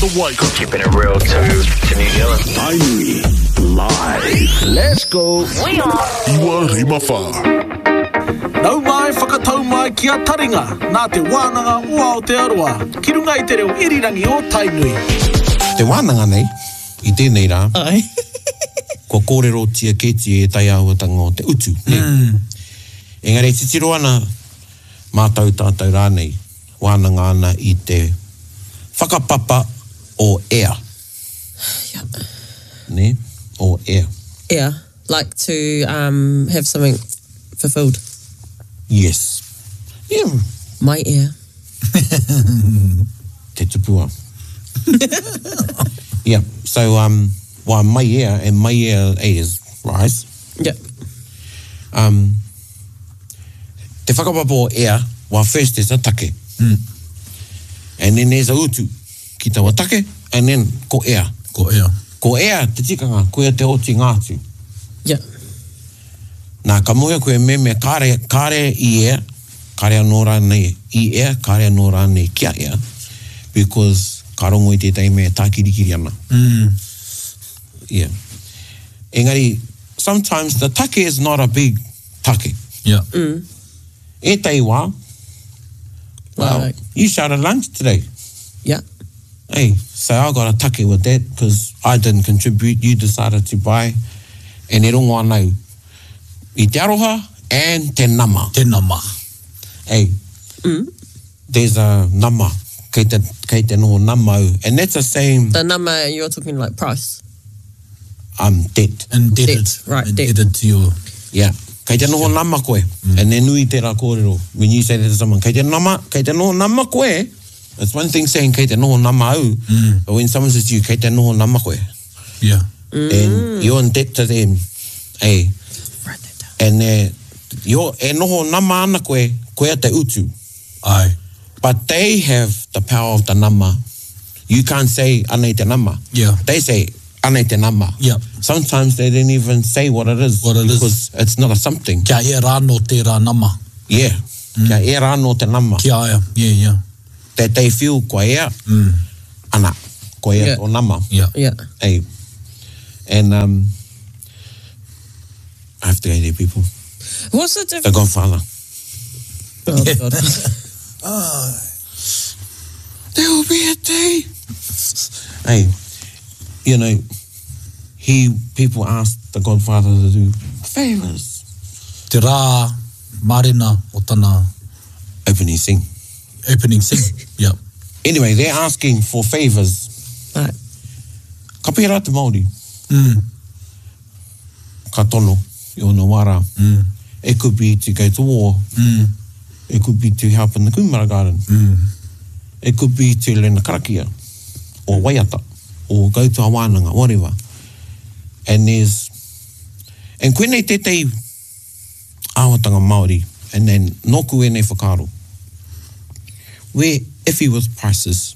the Waikato. Keeping it real to, to New Zealand. Tainui Live. Let's go. We are. Iwa Rima Whā. Nau mai, whakatau mai ki a Taringa, nā Te Wānanga o Aotearoa, ki runga i te reo irirangi o Tainui. Te wānanga nei, i tēnei rā, Ai. kua kōrerotia kētia ētahi āhuatanga o te utu, nē? Engari e titiro ana mātou, tātou rānei, wānanga ana i te whakapapa o ea. Yeah. Nē? O ea. Ea. Like to um, have something fulfilled. Yes. Yeah. My ear. Te tupua. yeah. So, um, well, my ear and my ear is rise. Yeah. Um, te whakapapa o ea, well, first there's a take. Mm. And then there's a utu ki taua take, and then ko ea. Ko ea. Ko ea te tikanga, koia te oti ngā atu. Yeah. Nā, ka mōhio koe me mea kāre, kāre i ea, kāre anō rānei i ea, kāre anō rānei kia ea, because ka rongo i tētahi mea e tākirikiri ana. Mm. Yeah. Engari, sometimes the take is not a big take. Yeah. Mm. Ētahi wā, well, Like- you shouted lunch today. Yeah. Hey, so I got a take with that because I didn't contribute, you decided to buy. And e rongo ana au i te aroha and te nama. Te nama. Hey, there's a nama. Kei te, kei te noho nama au. And that's the same The nama, you're talking like price. debt. Indebted. Debt, right, debt. Indebted to your... Yeah. Kei te noho nama koe. And e nui tērā kōrero. When you say that to someone, kei te nama, kei te noho nama koe. It's one thing saying kei te noho nama au, but when someone says to you, kei te noho nama koe. Yeah. And you're in debt to them. Hey. Write that down. And eh, you're, e noho nama ana koe, koea te utu. Ai. But they have the power of the nama. You can't say anei te nama. Yeah. They say anei te nama. Yeah. Sometimes they don't even say what it is. What it is. Because it's not a something. Kia e rāno tērā nama. Yeah. Kia e rāno te nama. Kia aia. Yeah, yeah. That they feel kua ea, ana, kua ea Yeah. tō nama. Yeah. Yeah. Hey. And um, I have to go there, people. What's the The difference? Godfather. Oh, God. There will be a day. Hey, you know, he people asked the Godfather to do favors. Te rā marena o tana Opening scene. opening scene. Yeah. Anyway, they're asking for favors. Right. Ka pērā te Māori. Mm. Ka tono i ona wā rā. Mm. It could be to go to war. Mm. It could be to help in the kumara garden. Mm. It could be to learn a karakia or waiata or go to a wānanga, whatever. And there's... And koinei tētahi āhuatanga Māori, and then nōku ēnei whakaaro. We're iffy with prices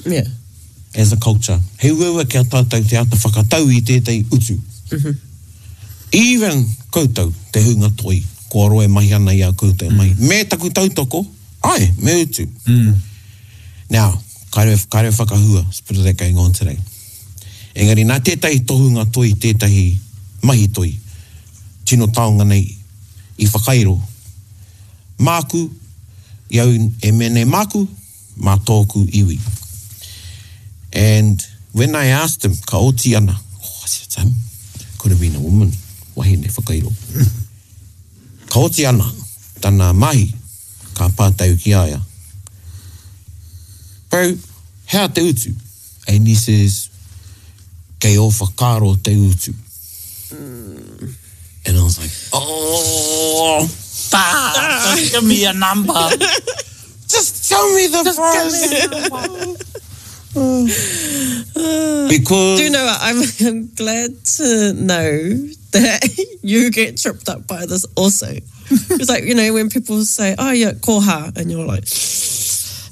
Yeah. as a culture. He uaua kia tātou te ata whakatau i tētahi utu. Even koutou, te hunga toi, kua roa e mahi ana i a koutou mahi. Me taku tautoko, ai, me utu. Now, kāre, kāre whakahua, it's a bit of that going on today. Engari, nā tētahi tohunga toi, tētahi mahi toi, tino taonga nei i whakairo. Māku, i au e mea nei māku, mā tōku iwi. And when I asked him, ka oti ana, oh, I said, Tim, could have been a woman, wahine whakairo. Ka oti ana, tana mahi, ka pātau ki a ia. Bro, hea te utu? And he says, kei ō whakaaro te utu. And I was like, oh, Just give me a number. just tell me the price. because Do you know what? I'm, I'm glad to know that you get tripped up by this also. It's like, you know, when people say, oh, yeah, koha, and you're like,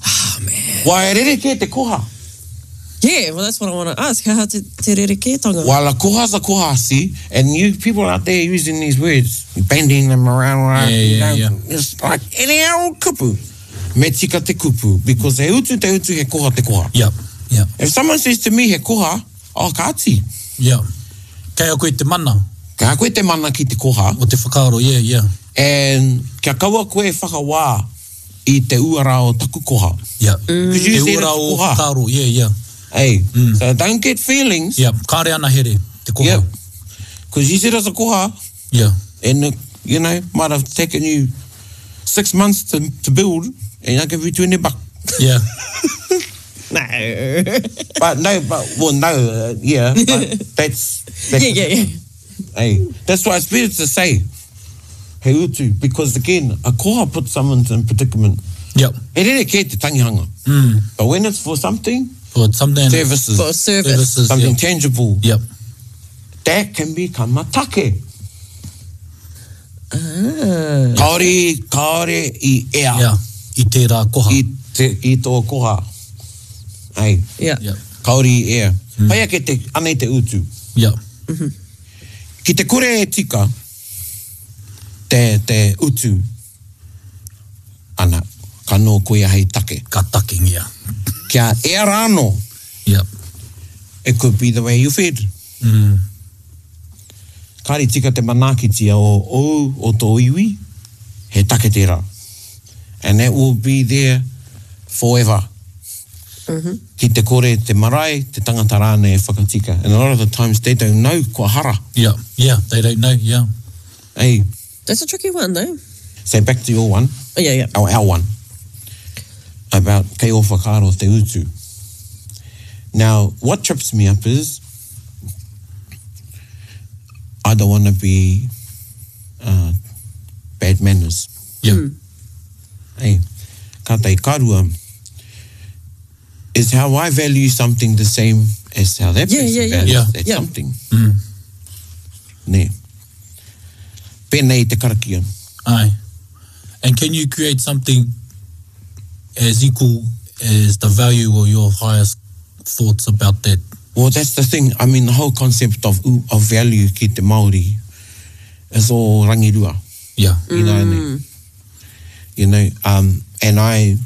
oh, man. Wai rere te koha. Yeah, well, that's what I want to ask. How te, te rerekētanga? While a koha's a koha, see, and you people out there using these words, bending them around, like, Yeah, yeah, you know, yeah. it's like any old kupu. Me tika te kupu, because he utu te utu, he koha te koha. Yep. Yeah. If someone says to me he koha, oh kāti. Yeah. Kei a koe te mana. Kei a koe te mana ki te koha. O te whakaaro, yeah, yeah. And kia kaua koe e whakawā i te uara o taku koha. Yeah. Because you Te said it's uara o koha. whakaaro, yeah, yeah. Hey, so don't get feelings. Yeah, kāre ana here, te koha. Yeah. Because you said it's a koha. Yeah. And, it, you know, might have taken you 6 months to build, and I give you 20 bucks. Yeah. No. But no, but, well, no, yeah, but that's Yeah, yeah, yeah. Hey, that's why it's better to say, he utu, because again, a koha puts someone in predicament. Yep. He rere kē te tangihanga. But when it's for something, For something, services, For service. services, something yeah. tangible, Yep. that can become a take. Kāore, kāore i ea. Yeah. I tērā koha. I, te, i tō koha. Ei, Yeah. Yeah. kāore i ea. Pai ake te, anei te utu. Yeah. Ki te kore e tika, te, te utu, ana, ka nō koia hei take. Ka takengia. Kia ea rāno, Yeah. it could be the way you fed. Kāre tika te manaakitia o ou, o tō iwi, he take tērā. And that will be there forever. Ki te kore te marae, te tangata rānei e whakatika. And a lot of the times they don't know kua hara. Yeah. Yeah. They don't know. Yeah. Hey, That's a tricky one, though. so back to your one. Oh, yeah, yeah. Our one. About kei o whakaaro te utu. Now, what trips me up is I don't want to be bad manners. Yeah. Hey, ka tai karua is how I value something the same as how that Yeah, person yeah, yeah. values Yeah. that Yeah. something. Nē. Pēnei te karakia. Aye. And can you create something as equal as the value or your highest thoughts about that? Well, that's the thing. I mean, the whole concept of value ki te Māori is all rangirua. Yeah. You know what I mean? You know, and I,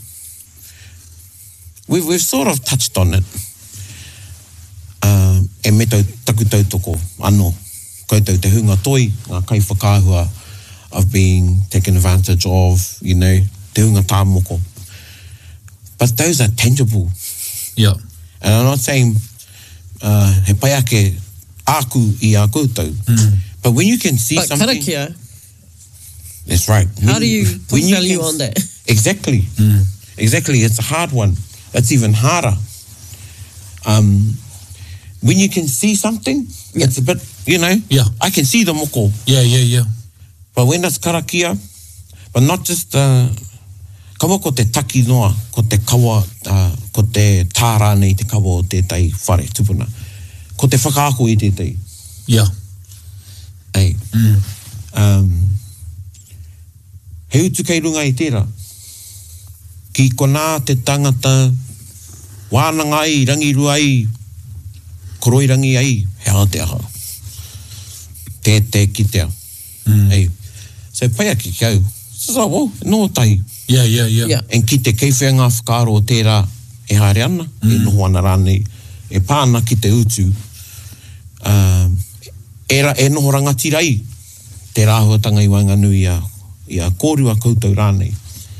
we've sort of touched on it. E me tau, taku tautoko, anō, koutou te hunga toi, ngā kai whakaahua of being taken advantage of, you know, te hunga tāmoko. But those are tangible. Yeah. And I'm not saying he pai ake āku i a koutou. But when you can see But something... karakia, That's right. how do you put When you value can on that? Exactly. Exactly. It's a hard one. It's even harder. When you can see something, it's a bit, you know. Yeah. I can see the moko. Yeah, yeah, yeah. But when it's karakia, but not just kawa ko te taki noa, ko te kawa, ko te tā rānei te kawa o tētai whare tupuna. Ko te whakaako i tētai. Yeah. Ei. He utu kei runga i tērā. Ki konā te tangata wānanga ai, rangirua ai, koroirangi ai, he aha te aha. Te te kitea. Ei. So pai ake ki au. So, oh, no tahi. Yeah, yeah, yeah. Yeah. And ki te kei whea ngā whakaaro o tērā e haere ana, e noho ana rānei, e pā ana ki te utu, e noho rangatira ai te rāhuatanga i waenganui i a kōrua koutou rānei.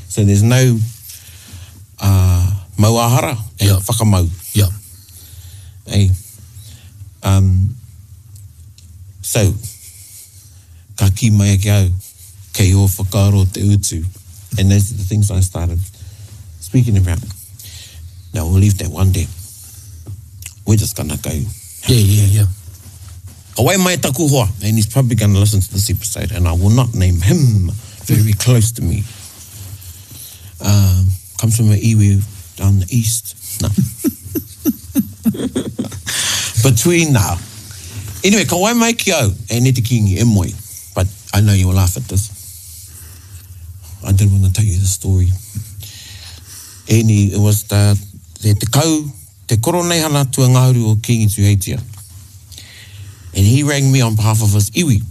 So there's no mauāhara e Yeah. whakamau. Yeah. Ei. So, ka ki mai ake au, kei o whakaaro te utu. And those are the things I started speaking about. Now, we'll leave that one there. We're just going to go. Yeah, yeah, yeah. Ka wai mai taku hoa, and he's probably going to listen to this episode, and I will not name him very close to me. Comes from an iwi down the east. No. Between now. Anyway, ka wai mai ki au, e ne te kingi e moe. But I know you'll laugh at this. I did want to tell you the story. Eni, it was the, te kau, te koroneihana tua ngahuru o Kingi Tuheitia. And he rang me on behalf of his iwi.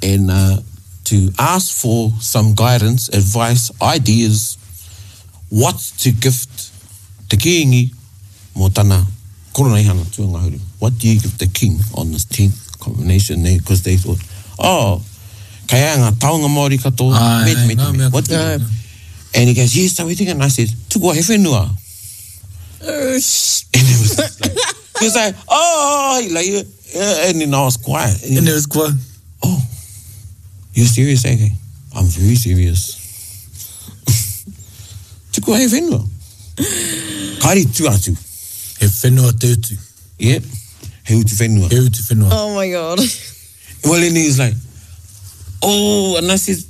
And to ask for some guidance, advice, ideas, what to gift te te kīngi mō tana koroneihana tuangahuru? What do you give the king on this 10th coronation? Because they thought, oh, kei a ngā taonga Māori katoa, Aye, me te, me te, ngā me. mea What do you katoa. And he goes, yes, so we think, and I said, tukua he whenua. Oh, sh- And it was just like, he was like, oh, like, yeah, and then I was quiet. And he And it was quite. Oh, you're serious, eh? I'm very serious. Tukua he whenua. Kāre tu atu. He whenua te utu. Yep. He utu whenua. He utu whenua. oh my god. Well, and he's like, oh, and I said,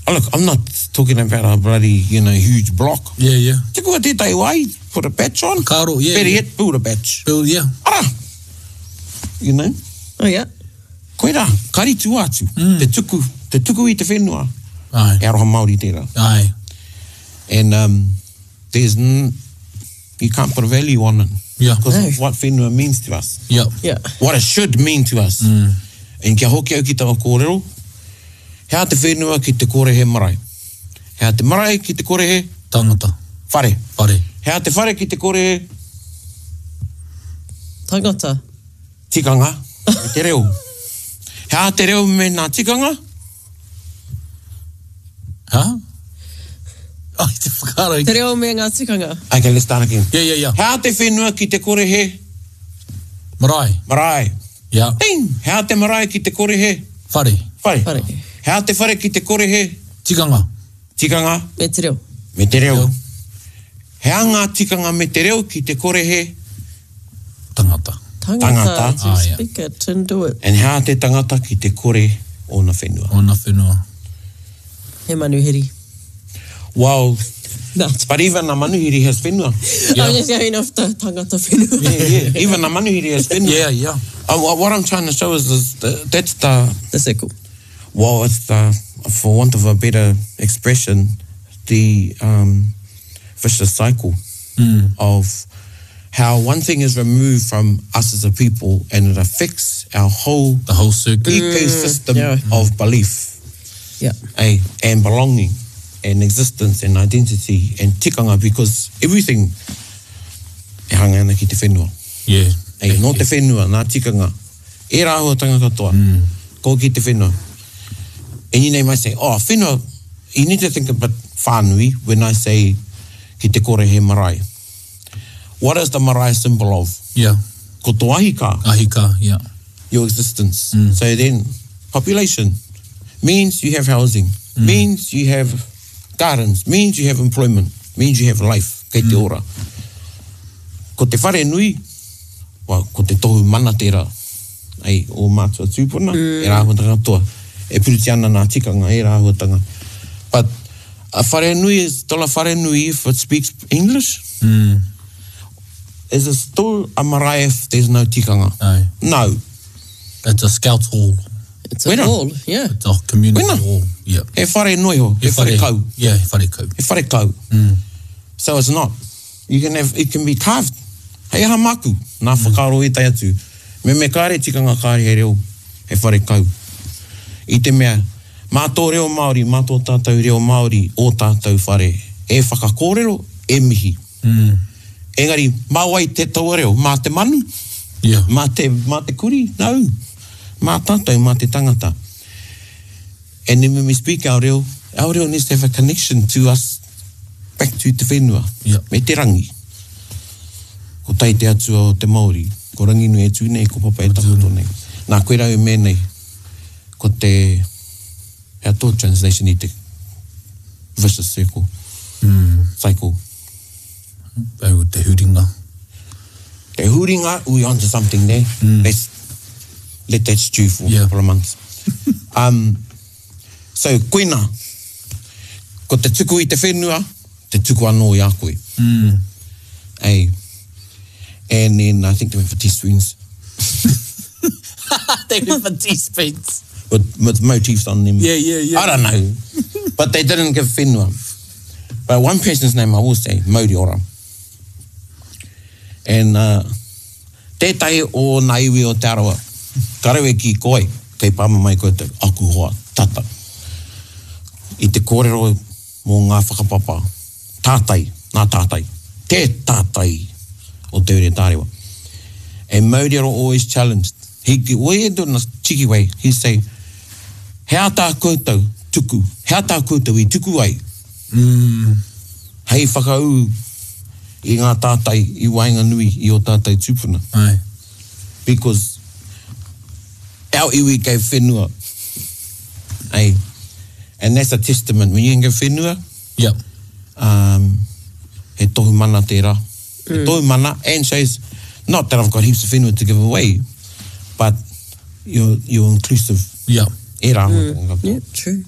oh, look, I'm not talking about a bloody, you know, huge block. Yeah, yeah. Tukua tētahi wai, put a patch on. Karo, yeah, Better yeah. yet, build a patch. Build, yeah. Ara! You know? Oh yeah. Koira, kāre tu atu. Te tuku, te tuku i te whenua. Aye. E aroha Māori tērā. Aye. And there's you can't put a value on it. Yeah. Because No. of what whenua means to us. Yeah. Yeah. What it should mean to us. And kia hoki au ki taua kōrero, hea te whenua ki te kore he marae. Hea te marae ki te kore he Tangata. whare. Whare. Hea te whare ki te kore he Tangata. tikanga me te reo. Hea te reo me ngā tikanga? Huh? Oh, te whakaaro. Te reo me ngā tikanga. Okay, let's start again. Yeah, yeah, yeah. Hea te whenua ki te kore he Marae. marae. Yeah. Ding! Hea te marae ki te kore he Whare. whare. Whare. Hea te whare ki te kore he Tikanga. tikanga Me te reo. me te reo. Reo. Hea ngā tikanga me te reo ki te kore he Tangata. Tangata. Tangata. To Ah, yeah. speak it and do it. and hea te tangata ki te kore ōna whenua. Ona whenua. He manuhiri. Well, No. but even a manuhiri has whenua. Yeah. I'm just going off the tangata whenua. Yeah, yeah. Even a manuhiri has whenua. Yeah, yeah. What I'm trying to show is, is that's the, The circle. well, it's the, for want of a better expression, the vicious cycle of how one thing is removed from us as a people and it affects our whole The whole circuit. ecosystem yeah. of belief Yeah. eh, and belonging and existence and identity and tikanga because everything e hanga ana ki te whenua. Yeah. Ei, nō te whenua, nā tikanga. E rā āhuatanga katoa. Ko ki te whenua. And you know, you might say, oh, whenua, you need to think about whānui when I say ki te kore he marae. What is the marae symbol of? Yeah. Ko tō ahi kā, Ahi kā, yeah. your existence. So then, population means you have housing, means you have gardens, means you have employment, means you have life, kei te ora. Ko te whare nui, well, ko te tohu mana tērā, ai, o mātua tūpuna, e rāhuatanga katoa. E puruti ana nā tikanga, e rāhuatanga. But a whare nui is still a whare nui if it speaks English. Is it still a marae if there's no tikanga? Aye. No. It's a scout hall. It's a Wena. hall. Yeah. It's a community Wena. hall. Yeah. He whare noi ho, he whare kau. Yeah, he whare kau. He whare kau. So it's not. You can have, it can be carved. Hei aha maku, nā whakaaro e tai atu. Me me kāre tikanga kāre he reo, he whare kau. I te mea, mā tō reo Māori, mā tō tātou reo Māori, o tātou whare, e whakakōrero, e mihi. Engari, mā wai te taua reo, mā te manu, Yeah. mā te, mā te kuri, no. Mā tātou, mā te tangata. And then when we speak our reo, our reo needs to have a connection to us back to te whenua, Yeah. me te rangi. Ko tai te atua o te Māori, ko Ranginui e tū nei, ko Papa e takoto nei. Nā, koe rau me nei, ko te, hea tō translation i te vicious circle, cycle. Au te huringa. Te huringa, we onto something there. Let's let that stew for a Yeah. couple of months. so, koina, ko te tuku i te whenua, te tuku anō i a koe. Ei. And then I think they went for teaspoons. They went for teaspoons. With motifs on them. Yeah, yeah, yeah. I don't know. But they didn't give whenua. But one person's name I will say, Mauri Ora. And tētahi o nā iwi o Te Arawa, karawe ki koe, kei pāma mai koutou, aku hoa, tata. I te kōrero mō ngā whakapapa, tātai, nā tātai, te tātai. tātai o Te Ure Tārewa. And Mauriaro always challenged. He, well, he do it in a cheeky way. He say, he aha tā koutou tuku, he aha tā koutou i tuku ai? Mm. Hei whakaū i ngā tātai i waenganui i ō tātou tūpuna. Aye. Because our iwi gave whenua. Hey. And that's a testament. When you can give whenua, yep. um, he tohu mana tērā. Mm. He tohu mana and shows, not that I've got heaps of whenua to give away, but you're, you're inclusive. Yeah. Ērā mm. Yeah, true.